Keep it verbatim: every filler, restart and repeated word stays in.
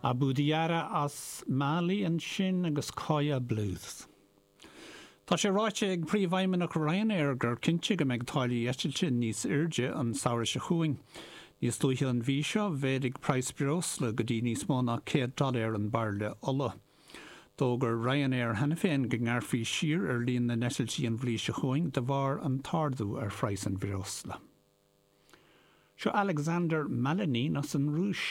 Abou Diarra as Mali ansin agus Coya Blues. Tá sé ráite ag príomhfheidhmeannach Ryanair gur cinnte go mbeidh táillí eitilte níos airde an samhradh seo chugainn. Níos luaithe an mhí seo mhéadaigh praghas breosla go dtí níos mó ná céad dollar an bairille ola. D'fhógair Ryanair cheana féin go ngearrfaí siar ar líon na n-eitiltí an bhliain seo chugainn de bharr an t-ardú ar phraghas an bhreosla. Seo Alexander Malinin as an Rúis.